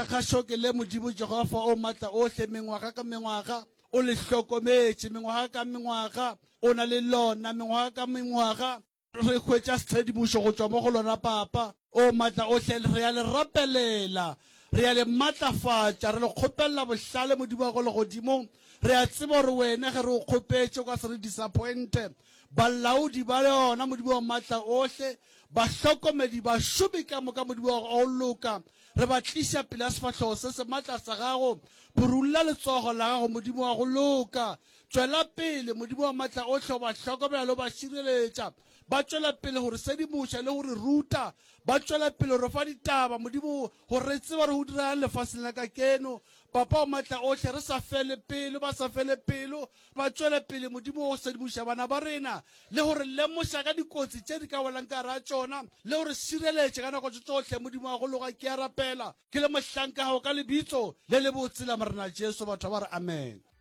Lekgotlakgašo ke le, Modimo Jehofa o Matla ohle, mengwaga ka mengwaga o le hlokometše, mengwaga ka mengwaga o na le lona, mengwaga ka mengwaga re hwetša tshedimošo go tšwa mo go lona, Papa o Matla ohle. Re a le rapelela, re a le matlafatša, re le kgopelela bohlale, Modimo wa go legodimong. Re a tseba gore wena ge re o kgopetše o ka se re disappointe. Balaodi ba yona, Modimo wa Matla ohle, bahlokomedi, bašomi ka moka, Modimo wa go loka, re ba tliša pele ga sefahlogo se se matla sa gago. Phurulla letsogo la gago, Modimo wa go loka. Tšwela pele, Modimo wa Matla ohle, o ba hlokomela le go ba šireletša. Ba tšwela pele go re sedimoša le go re ruta. Ba tšwela pele go re fa ditaba, Modimo, gore re tsebe gore go diregang lefaseng la kakeno. Papa wa Matla ohle, re sa fele pelo, ba sa fele pelo, ba tšwele pele, Modimo, go sedimoša bana ba rena le go re lemoša ka dikotsi tše di ka welang ka gare ga tšona, le go re šireletša ka nako tše tšohle. Modimo wa go loga, ke a rapela, ke le mohlanka gago, ka Lebitso le lebotse la Morena Jesu. Batho ba re, Amene.